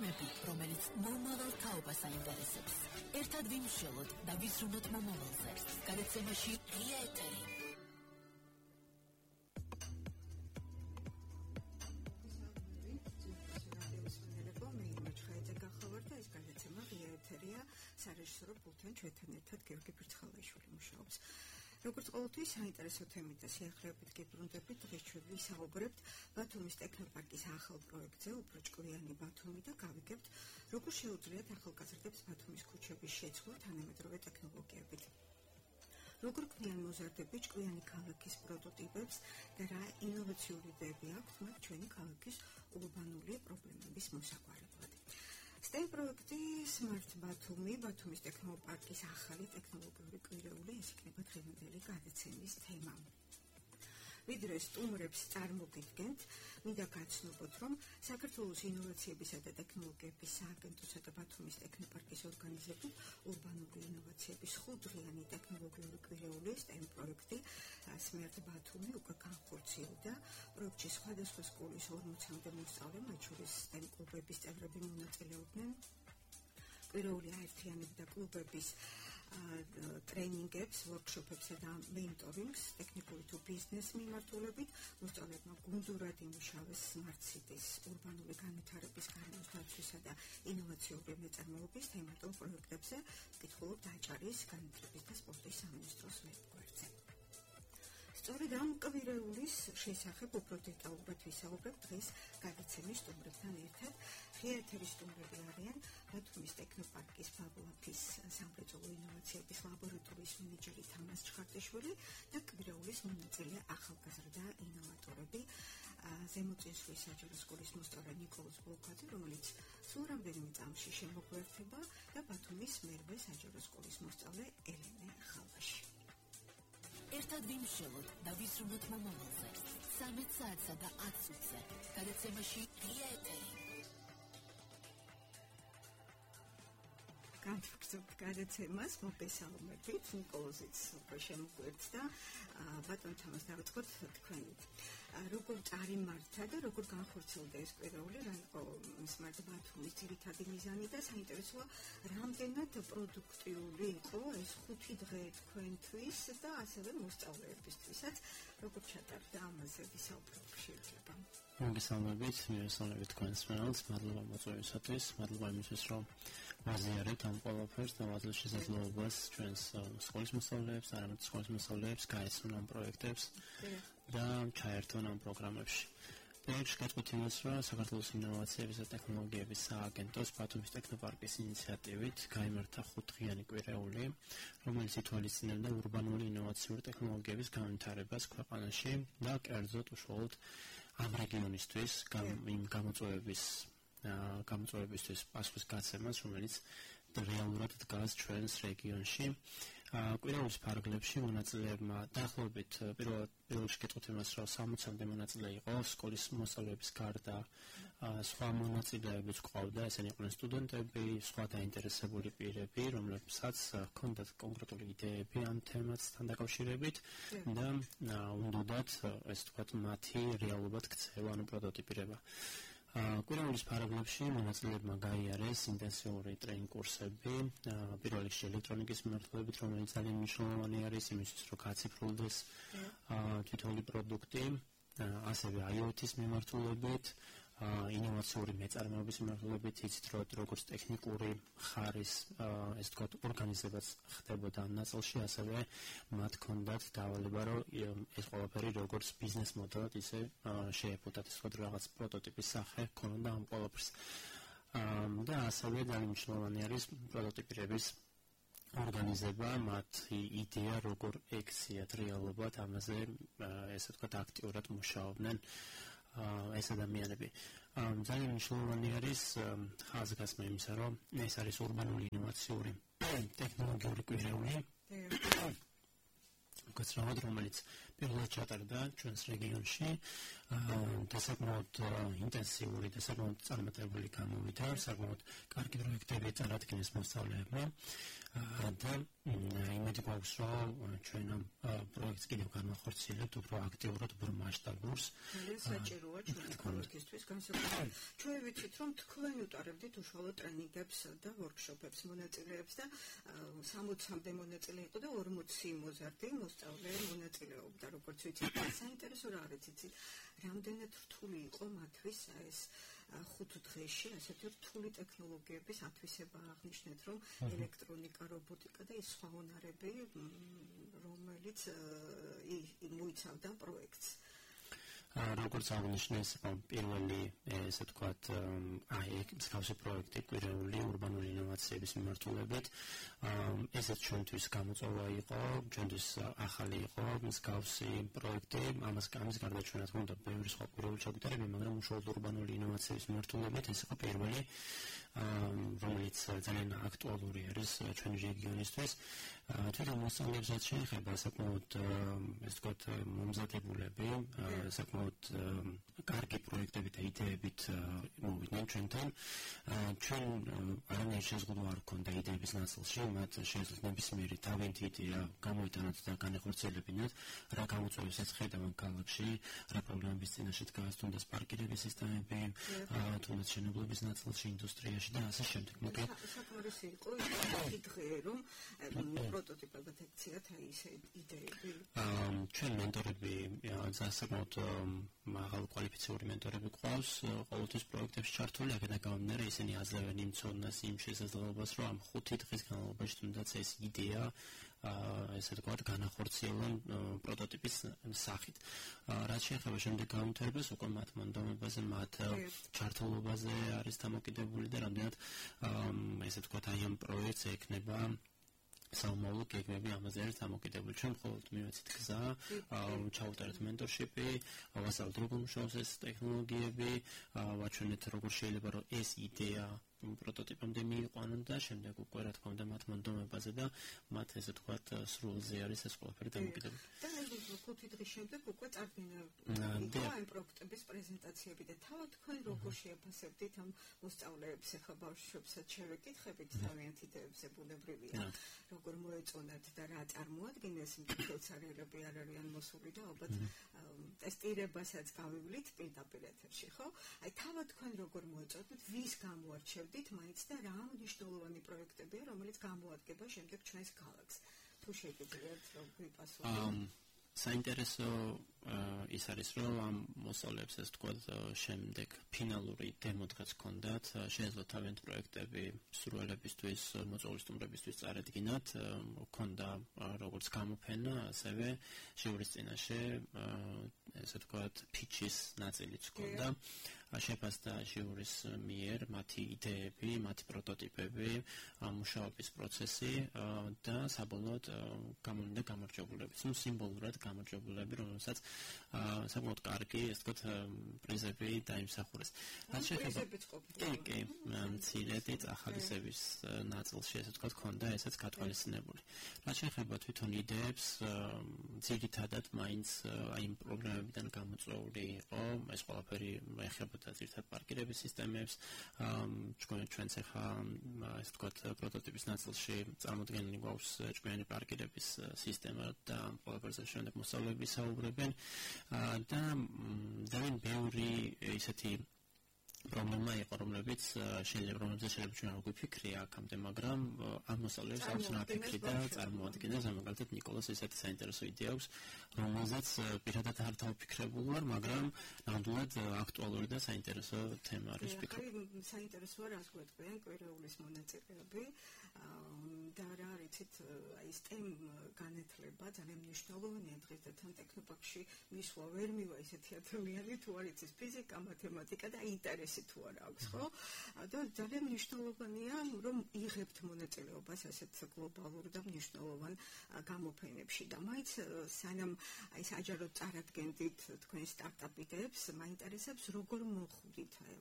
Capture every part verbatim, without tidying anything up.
თემები, რომელიც მომავალ თაობას აინტერესებს. ერთად ვიმშველოთ და ვისრუნოთ მომავალზე. გადაცემაში ღია ეთერი. სარეჟისორო პულტთან ჩვენთან ერთად გიორგი ფირცხალაიშვილი მუშაობს. როგორც ყოველთვის საინტერესო თემით და სიახლეებით გიბრუნდებით, დღეს ჩვენ ვისაუბრებთ ბათუმის ტექნოპარკის ახალ პროექტზე, უფრო ჭკვიანი ბათუმი და გავიგებთ, როგორ შეუძლიათ ახალგაზრდებს ბათუმის ქუჩების შეცვლა თანამედროვე ტექნოლოგიებით. როგორ ქმნიან მოზარდები ჭკვიანი ქალაქის პროტოტიპებს და რა ინოვაციური იდეები აქვთ მათ ჩვენი ქალაქის ურბანული პრობლემების მოსაგვარებლად. STEM პროექტი Smart Batumi, ბათუმის ტექნოპარკის ახალი ტექნოლოგიური კვირეული, ეს იქნება დღევანდელი გადაცემის თემა. ვიდრე სტუმრებს წარმოგიდგენთ, მინდა გაცნობოთ, რომ საქართველოს ინოვაციებისა და ტექნოლოგიების სააგენტოსა და ბათუმის ტექნოპარკის ორგანიზებით ურბანული ინოვაციების ხუთდღიანი ტექნოლოგიური კვირეული STEM პროექტი Smart Batumi უკვე განხორციელდა. პროექტში სხვადასხვა სკოლის ორმოცამდე მოსწავლე, მათ შორის STEM კლუბების წევრები მონაწილეობდნენ. კვირეული აერთიანებდა კლუბების ტრენინგებს, ვორქშოპებსა და მენტორინგს ტექნიკური თუ ბიზნეს მიმართულებით. მოსწავლეებმა გუნდურად იმუშავეს Smart Cities ურბანული განვითარების გარემოს დაცვისა და ინოვაციური მეწარმეობის თემატურ პროექტებზე. კითხულობ დაჭარის განათლების და სპორტის სამინისტროს ვებგვერდზე. სწორედ ამ კვირეულის შესახებ უფრო დეტალურად ვისაუბრებ დღეს გადაცემის სტუმრებთან ერთად. ღია ეთერის სტუმრები არიან ბათუმის ტექნოპარკის ფაბლაფის სამრეწველო ინოვაციების ლაბორატორიის მენეჯერი თამაზ ჩხარტიშვილი და კვირეულის მონაწილე ახალგაზრდა ინოვატორები ზემოწინსვლის საჯარო სკოლის მოსწავლე ნიკოლოზ ბლოკაძე, რომელიც სულ რამდენიმე წამში შემოგვერთება და ბათუმის მერვე საჯარო სკოლის მოსწავლე ელენე ხალვაში. ერთად ვიმშველოთ და ვისრუნოთ მომავალზე. სამი საათსა და ათ წუთზე. გადაცემაში ღია ეთერი. განვაგრძობთ გადაცემას, მოგესალმებით, ნიკოლოზიც უფრო შემოგვერთდა, ბატონ თამაზ დავიწყოთ თქვენით. როგორ წარიმართა და როგორ განხორციელდა ეს კვირეული, რა იყო Smart Batumi-ის ძირითადი მიზანი და საინტერესოა, რამდენად პროდუქტიული იყო ეს ხუთი დღე თქვენთვის და ასევე მოსწავლეებისთვისაც, როგორ ჩატარდა ამაზე ვისაუბროთ შეიძლება. მოგესალმებით, მივესალმებით თქვენს მერალს, მადლობა მოწვევისათვის, მადლობა იმისთვის, რომ ვაზიარებთ ამ ყველაფერს და ვაძლევთ შესაძლებლობას ჩვენს სკოლის მოსწავლეებს, არამედ სკოლის მოსწავლეებს გაეცნონ ამ პროექტებს და ჩაერთონ ამ პროგრამებში. პროექტში გეტყვით იმას, რომ საქართველოს ინოვაციების და ტექნოლოგიების სააგენტოს ბათუმის ტექნოპარკის ინიციატივით გაიმართა ხუთდღიანი კვირეული, რომელიც ითვალისწინებდა ურბანული ინოვაციური ტექნოლოგიების განვითარებას ქვეყანაში და კერძოდ უშუალოდ ამ რეგიონისთვის იმ გამოწვევების გამოწვევებისთვის პასუხის გაცემას, რომელიც რეალურად დგას ჩვენს რეგიონში. კვირეულის ფარგლებში მონაწილეებმა დაახლოებით პირველ რიგში გეტყვით იმას, რომ სამოცამდე მონაწილე იყო სკოლის მოსწავლეების გარდა, სხვა მონაწილეებიც ყავდა, ესენი იყვნენ სტუდენტები, სხვა დაინტერესებული პირები, რომლებსაც ჰქონდათ კონკრეტული იდეები ამ თემასთან დაკავშირებით და უნდათ, ესე ვთქვათ, მათი რეალურად ქცევა, ანუ პროტოტიპირება. კვირეულის ფარგლებში მონაწილეებმა გაიარეს ინტენსიური ტრეინინგ კურსები, პირველ რიგში ელექტრონიკის მიმართულებით, რომელიც ძალიან მნიშვნელოვანი არის იმისთვის, რომ გაციფრულდეს თითოეული პროდუქტი, ასევე I O T-ის მიმართულებით, ინოვაციური მეწარმეობის მიმართულებით, იცით, რომ როგორც ტექნიკური ხარის, ესე ვთქვათ, ორგანიზებაც ხდებოდა ამ ნაწილში, ასევე მათ ჰქონდათ დავალება, რომ ეს ყველაფერი როგორც ბიზნეს მოდელად ისე შეეფუთათ, ესე ვთქვათ, რაღაც პროტოტიპის სახე ჰქონდა ამ ყველაფერს. და ასევე ძალიან მნიშვნელოვანი არის პროტოტიპირების ორგანიზება, მათი იდეა, როგორ ექციათ რეალობად, ამაზე, ესე ვთქვათ, აქტიურად მუშაობდნენ ეს ადამიანები. ძალიან მნიშვნელოვანი არის ხაზგასმა იმისა, რომ ეს არის ურბანული ინოვაციური ტექნოლოგიური კვირეული, გაცრავად, რომელიც პირველად ჩატარდა ჩვენს რეგიონში. და საკმაოდ ინტენსიური და საკმაოდ წარმატებული გამოვიდა, საკმაოდ კარგი პროექტები წარადგინეს მოსწავლეებმა და იმედი გვაქვს, რომ ჩვენ ამ პროექტს კიდევ განვახორციელებთ უფრო აქტიურად, უფრო მასშტაბურს. საჭიროა ჩვენი პროექტისთვის განსაკუთრებით. ჩვენ ვიცით, რომ თქვენ უტარებდით უშუალო ტრენინგებს და ვორქშოპებს მონაწილეებს და სამოცამდე მონაწილე იყო და ორმოცი მოზარდი მოსწავლე მონაწილეობდა, როგორც ვიცით. საინტერესო რა არის იცით? რამდენად რთული იყო მათთვის ეს ხუთ დღეში ასეთი რთული ტექნოლოგიების ათვისება აღნიშნეთ, რომ ელექტრონიკა, რობოტიკა და ის სხვა უნარები, რომელიც მოიცავდა პროექტს. როგორც აღნიშნეს, პირველი ესე ვთქვათ, აი მსგავსი პროექტი კვირეული ურბანული ინოვაციების მიმართულებით, ესეც ჩვენთვის გამოწვევა იყო, ჩვენთვის ახალი იყო მსგავსი პროექტი, ამას ამის გარდა ჩვენ რა თქმა უნდა ბევრი სხვა კვირეული ჩაგვიტარებია, მაგრამ უშუალოდ ურბანული ინოვაციების მიმართულებით ეს იყო პირველი, რომელიც ძალიან აქტუალური არის ჩვენი რეგიონისთვის. თვითონ მოსწავლეებსაც შეეხება საკმაოდ ესე ვთქვათ მომზადებულები, საკმაოდ კარგი პროექტები და იდეებით მოვიდნენ ჩვენთან. ჩვენ არანაირი შეზღუდვა არ ჰქონდა იდეების ნაწილში, მათ შეეძლოთ ნებისმიერი თავიანთი იდეა გამოიტანოთ და განახორციელებინათ, რა გამოწვევებს ეწხედავენ ქალაქში, რა პრობლემების წინაშე დგას, თუნდაც პარკირების სისტემები, თუნდაც მშენებლობის ნაწილში, ინდუსტრიაში და ასე შემდეგ. მოკლედ საკმარისი იყო ის დღე, რომ პროტოტიპებად ექციათ აი ეს იდეები. ჩვენ მენტორები საკმაოდ მაღალ კვალიფიციური მენტორები გვყავს ყოველთვის პროექტებში ჩართული, აქედან გამომდინარე ისინი აძლევენ იმ ცოდნას, იმ შესაძლებლობას, რომ ამ ხუთი დღის განმავლობაში თუნდაც ეს იდეა ესე ვთქვათ, განახორციელონ პროტოტიპის სახით. რაც შეეხება შემდეგ გამართლებას, უკვე მათ მონდომებაზე, მათ ჩართულობაზე არის დამოკიდებული და რამდენად ესე ვთქვათ, აი ამ პროექტს ექნება საომავლო გეგმები ამაზე არის დამოკიდებული. ჩვენ მხოლოდ მივეცით გზა, ჩავუტარეთ მენტორშიპი, ვასწავლეთ როგორ მუშაობს ეს ტექნოლოგიები, ვაჩვენეთ როგორ შეიძლება რომ ეს იდეა პროტოტიპამდე მიიყვანონ და შემდეგ უკვე რა თქმა უნდა მათ მონდომებაზე და მათ ესე ვთქვათ სრულზე არის ეს ყველაფერი დამოკიდებული. და ხუთი დღის შემდეგ უკვე წარდგინა ამ პროექტების პრეზენტაციები და თავად თქვენ როგორ შეაფასებდით ამ მოსწავლეებს, ახლა ბავშვებსაც შევეკითხებით თავიანთი იდეებზე ბუნებრივია, როგორ მოეწონათ და რა წარმოადგენს, მკითხველსარიელები არ არიან მოსული და ალბათ ტესტირებასაც გავივლით პირდაპირ ეთერში, ხო? აი თავად თქვენ როგორ მოეწონათ, ვის გამოარჩევდით მაინც და რა მნიშვნელოვანი პროექტებია, რომელიც გამოადგება შემდეგ ჩვენს ქალაქს. თუ შეგიძლიათ რომ ვიპასუხოთ. საინტერესო ის არის, რომ ამ მოსწავლეებს ეს თქვა შემდეგ ფინალური დემო დღეც ჰქონდათ, შეეძლოთ თავიანთი პროექტები მსურველებისთვის, მოწვევის სტუმრებისთვის წარედგინათ, ჰქონდა როგორც გამოფენა, ასევე ჟიურის წინაშე ესე ვთქვათ, ფიჩის ნაწილიც ჰქონდა. შეფასდა ჟიურის მიერ მათი იდეები, მათი პროტოტიპები, მუშაობის პროცესი და საბოლოოდ გამოვიდა გამარჯვებულები. ნუ სიმბოლურად გამარჯვებულები, რომელსაც საკმაოდ კარგი, ესე ვთქვათ, პრიზები დაიმსახურეს. რაც შეეხება კი, კი, მცირედი წახალისების ნაწილში, ესე ვთქვათ, ჰქონდა ესეც გათვალისწინებული. რაც შეეხება თვითონ იდეებს, ძირითადად მაინც აი იმ პრობლემებიდან გამოწვეული იყო, ეს ყველაფერი ეხება და ზირთად პარკირების სისტემებს, ჩვენც ახლა ესე ვთქვათ პროტოტიპის ნაწილში წარმოდგენილი გვაქვს ჭკვიანი პარკირების სისტემა და ყველაფერზე შემდეგ მოსწავლეები საუბრებენ და ძალიან ბევრი ისეთი პრობლემა იყო, რომლებიც შეიძლება რომელზეც შეიძლება ჩვენ არ გვიფიქრია აქამდე, მაგრამ ამ მოსწავლეებს აქვს რა ფიქრი და წარმოადგენს, მაგალითად ნიკოლას ესეთი საინტერესო იდეა აქვს, რომელზეც პირადად არ დავფიქრებულ ვარ, მაგრამ ნამდვილად აქტუალური და საინტერესო თემა არის ვფიქრობ. საინტერესოა რას გვეტყვიან კვირეულის მონაწილეები და რა არიცით, აი STEM განათლება ძალიან მნიშვნელოვანია დღეს და თან ტექნოპარკში მისვლა ვერ მივა ისეთი ადამიანი, თუ არ იცის ფიზიკა, მათემატიკა და ინტერესი თუ არ აქვს, ხო? და ძალიან მნიშვნელოვანია, რომ იღებთ მონაწილეობას ასეთ გლობალურ და მნიშვნელოვან გამოფენებში და მაინც სანამ აი საჯაროდ წარადგენდით თქვენ სტარტაპიდებს, მაინტერესებს როგორ მოხვდით აი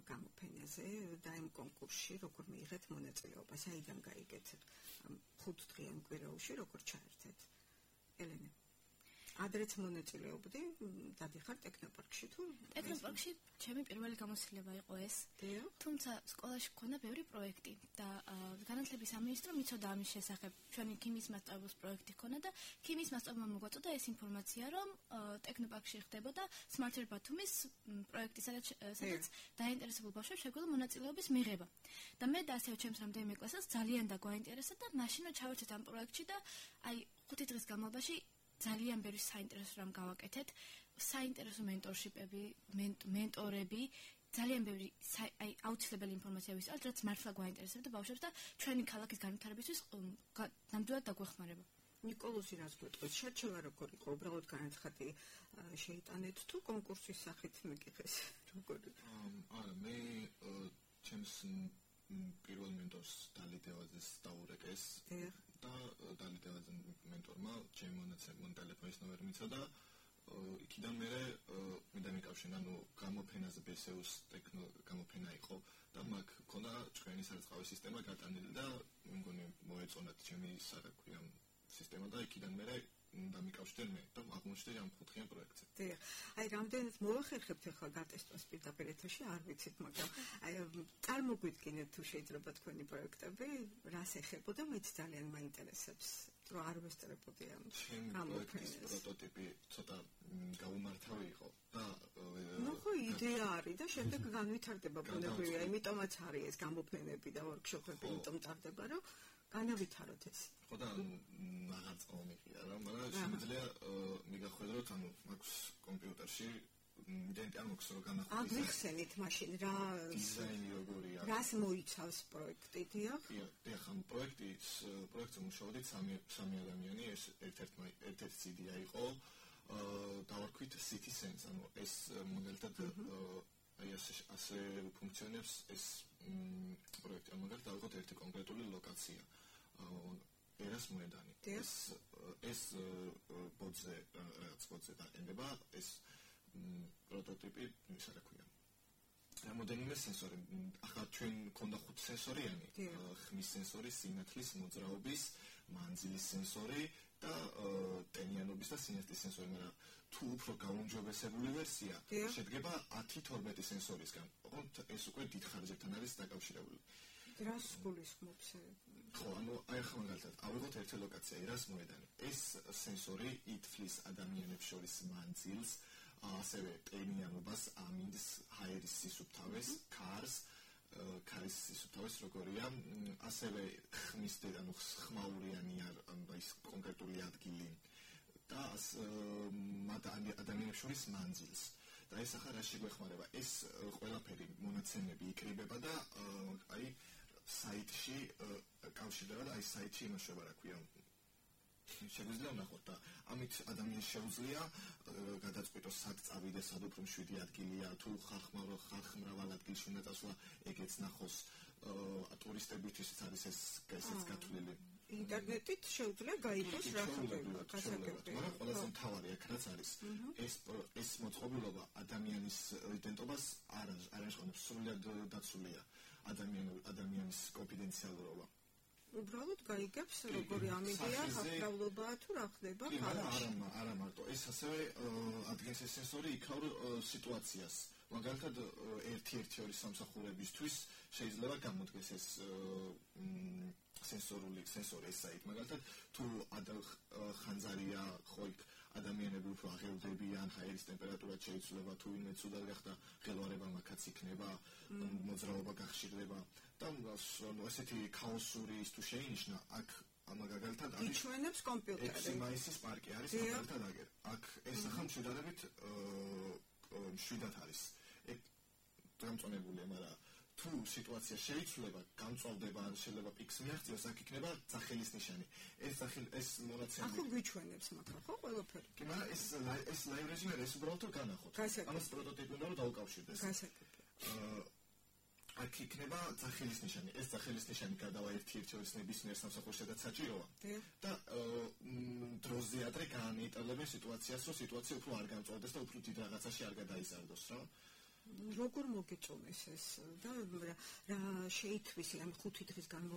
გამოფენაზე და იმ კონკურსში როგორ მიიღეთ მონაწილეობა, საიდან გაიგეთ ხუთდღიან კვირაულში როგორ ჩაერთეთ? ელენე. ადრეც მონაწილეობდი, დადიხარ ტექნოპარკში თუ? ტექნოპარკში ჩემი პირველი გამოცდილება იყო ეს. თუმცა სკოლაში მქონდა ბევრი პროექტი და განათლების სამინისტრო მიცოდა ამის შესახებ. ჩვენი ქიმიის მასწავლებლის პროექტი ჰქონდა და ქიმიის მასწავლებელმა მოგვაწოდა ეს ინფორმაცია, რომ ტექნოპარკში ხდებოდა Smarter Batumis პროექტი, სადაც დაინტერესებულ ბავშვებს შეგვიძლია მონაწილეობის მიღება. და მე და ასევე ჩემს რამდენიმე კლასელს ძალიან დაგვაინტერესა და მაშინვე ჩავერთეთ ამ პროექტში და აი ხუთი დღის განმავლობაში ძალიან ბევრი საინტერესო რამ გავაკეთეთ, საინტერესო მენტორშიპები, მენტორები, ძალიან ბევრი აი აუცილებელი ინფორმაცია ვისწავლეთ, რაც მართლა გვაინტერესებდა ბავშვებს და ჩვენი ქალაქის განვითარებისთვის ნამდვილად დაგვეხმარება. ნიკოლოზი რას გვეტყვის? შერჩევა როგორ იყო? უბრალოდ განაცხადი შეიტანეთ თუ კონკურსის სახით მეკითხეს? როგორ? არა, მე ჩემს პირველ მენტორს დალიდევაძეს დაურეკეს და დალიდევაძე მენტორმა ჩემი მონაცემ ტელეფონის ნომერი მიცოდა. იქიდან მე მინდა მიკავშირა, ანუ გამოფენაზე ბესეუს ტექნო გამოფენა იყო და მაგ ქონდა ჩვენი სარწყავი სისტემა გატანილი და მე მგონი მოეწონათ ჩემი სარაქვია სისტემა და იქიდან მე დამიკავშირდნენ მე და აღმოჩნდა ამ ხუთიან პროექტზე. დიახ. აი რამდენად მოახერხებთ ახლა გატესტვას პირდაპირ ეთერში, არ ვიცით, მაგრამ აი წარმოგვიდგინეთ თუ შეიძლება თქვენი პროექტები, რას ეხებოდა, მეც ძალიან მაინტერესებს. რომ არ ვესწრებოდი ამ გამოფენის პროტოტიპი ცოტა გაუმართავი იყო და ნუ ხო იდეა არის და შემდეგ განვითარდება ბუნებრივია, იმიტომაც არის ეს გამოფენები და ვორქშოპები, იმიტომ ტარდება, რომ განავითაროთ ეს. ხო და აღარ წავმიყია რა, მაგრამ შემიძლია მიგახვედროთ, ანუ მაქვს კომპიუტერში იდენტი ამოქს რომ განახორციელოს. აგიხსენით მაშინ რა დიზაინი როგორია. რას მოიცავს პროექტი, დიახ? დიახ, ამ პროექტის პროექტზე მუშაობდით სამი სამი ადამიანი, ეს ერთ-ერთი ერთ-ერთი იდეა იყო. დავარქვით City Sense, ანუ ეს მაგალითად აი ასე ფუნქციონებს ეს პროექტი. ამ მაგალითად დავიღოთ ერთი კონკრეტული ლოკაცია. ერას მოედანი. ეს ეს ბოძე რაღაც ბოძე დაყენდება, ეს პროტოტიპი ისა რა ქვია. რამოდენიმე სენსორი. ახლა ჩვენ მქონდა ხუთი სენსორიანი, ხმის სენსორი, სინათლის, მოძრაობის, მანძილის სენსორი და ტენიანობის და სინათლის სენსორი, მაგრამ თუ უფრო გაუმჯობესებული ვერსია შედგება ათი თორმეტი სენსორისგან. ოღონდ ეს უკვე დიდ ხარჯებთან არის დაკავშირებული. რას გულისხმობს? ხო, ანუ აი ახლა მაგალითად, ავიღოთ ერთი ლოკაცია, ერას მოედანი. ეს სენსორი ითვლის ადამიანებს შორის მანძილს, ასევე ტენიანობას, ამინდს, ჰაერის სისუფთავეს, ქარს, ქარის სისუფთავეს როგორია, ასევე ხმის ანუ ხმაურიანი ის კონკრეტული ადგილი და ადამიანებს შორის მანძილს. და ეს ახლა რა შეგვეხმარება? ეს ყველაფერი მონაცემები იკრიბება და აი საიტში კავშირდება და აი საიტში იმუშავა რა ქვია. შეგვიძლია ვნახოთ და ამით ადამიანს შეუძლია გადაწყვიტოს სად წავიდეს, სად უფრო მშვიდი ადგილია, თუ ხალხმრავალ ადგილში უნდა წასვლა, ეგეც ნახოს. ტურისტებისთვის არის ეს ესეც გათვლილი. ინტერნეტით შეუძლია გაიგოს რა ხდება, გასაგებია. მაგრამ ყველაზე მთავარი აქ რაც არის, ეს ეს მოწყობილობა ადამიანის იდენტობას არ არაშხონებს, სრულად დაცულია ადამიანის კონფიდენციალურობა. უბრალოდ გაიგებს როგორი ამიდია, ხალხმრავლობაა თუ რა ხდება ქალაქში. არა, არა მარტო, ეს ასევე ადგენს ეს სენსორი იქაურ სიტუაციას. მაგალითად, ერთი-ერთი ორი სამსახურებისთვის შეიძლება გამოდგეს ეს სენსორული სენსორი ეს საით. მაგალითად, თუ ხანძარია ხო იქ ადამიანები უფრო აღელვდებიან, ჰაერის ტემპერატურა შეიცვლება, თუ ვინმე ცუდად გახდა, ღელვარება მაქაც იქნება, მოძრაობა გახშირდება და ესეთი ქაოსური ის თუ შეინიშნა, აქ მაგალითად არის იჩვენებს კომპიუტერი. ექვსი მაისის პარკი არის მაგალითად აგერ. აქ ეს ახლა მშვიდადებით მშვიდად არის. ეგ დამწონებულია, მაგრამ თუ სიტუაცია შეიცვლება, გამწვავდება, ან შეიძლება პიქს მიაღწიოს, აქ იქნება ძახილის ნიშანი. ეს ძახილი ეს მონაცემები. ახლა გვიჩვენებს მაგალითად, ხო, ყველაფერი. კი, მაგრამ ეს ეს ლაივ რეჟიმი ეს უბრალოდ განახოთ. ამას პროტოტიპი უნდა რომ დაუკავშირდეს. გასაგებია. აქ იქნება ძახილის ნიშანი. ეს ძახილის ნიშანი გადავა ერთ-ერთი ორი ნებისმიერ სამსახურში და საჭიროა. და დროზე ადრე განეიტალებენ სიტუაციას, რომ სიტუაცია უფრო არ გამწვავდეს და უფრო დიდ რაღაცაში არ გადაიზარდოს, რა. როგორ მოგეწონეს ეს და რა შეითვისი ამ ხუთი დღის განმავლობაში